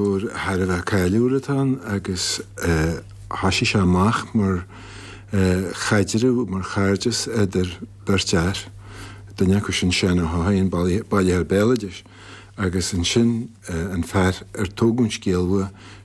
Thar a bheith cáiliúil atá ann agus thoisigh sé amach mar chaidreamh, mar chairdeas idir beirt fhear, duine acu sin Seán Ó hEochaidh, an bailitheoir béaloidis, agus ansin an fear ar tógadh an scéal uaidh.